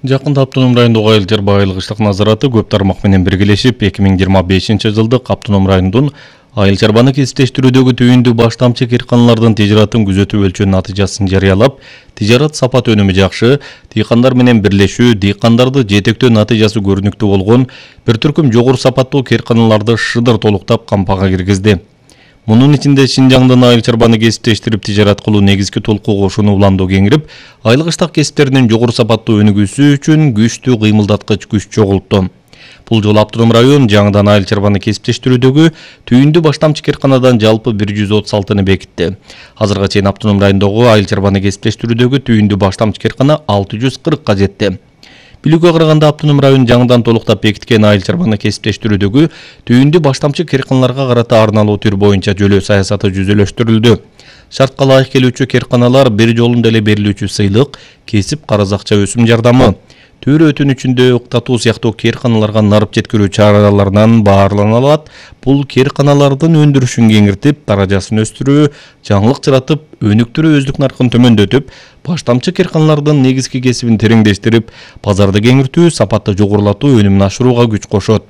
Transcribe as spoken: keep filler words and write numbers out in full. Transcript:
Жакында Автоном райондогу айыл чарба назараты көп тармак менен биргелешип, эки миң жыйырма бешинчи жылдык Автоном районунун айыл чарбаны кесиптештирүүдөгү түйүндүү баштамчы кыйрканалардын тижаратын күзөтүү өлчөөнүн натыйжасын жарыялап, тижарат сапат өнүмү жакшы, дыйкандар менен бирлешүү, дыйкандарды жетектөө натыйжасы көрүнүктүү болгон бир түркүм жогору сапаттуу кыйрканаларды шыдыр толуктап кампага киргизди. Мунун ичинде Шинжаңдын айыл чарбаны кесиптештирип тижарат кылуу негизги толку кошууну уландуу кеңирип, айыл кыштак кесиптеринин жогору сапаттуу өнүгүүсү үчүн күчтүү кыймылдаткыч күч чогултту. Бул жолу Автоном район жаңыдан айыл чарбаны кесиптештирүүдөгү түйүндүү баштамчы кыйрканадан жалпы бир жүз отуз алтыны бекитти. Азыркыга чейин Автоном райондогу айыл чарбаны кесиптештирүүдөгү түйүндүү баштамчы кыйркана алты жүз кыркка жетти. Билүүгө караганда Автоном район жаңыдан толуктап бекиткен айыл чарбаны кесиптештирүүдөгү түйүндүү баштамчы кыйрканаларга карата арналуу түр боюнча жөлөө саясаты жүзөлөштүрүлдү. Шартка ылайык келүүчү кыйрканалар бир жолунда эле берилүүчү сыйлык, кесип карыз акча өсүм жардамы, төр өтүнүчүндө уктатуу сыяктуу кыйрканаларга нарып жеткирүү чараларынан баарлана алат. Бул кыйрканалардын өндүрүшүн кеңиртип, даражасын өстүрүү, жаңылык жаратып, өнүктүрүү өздүк наркын төмөндөтүп, баштамчы кыйрканалардын негизги кесибин тереңдештирип, базарды кеңиртүү, сапатты жогорулатуу, өнүмүн ашырууга күч кошот.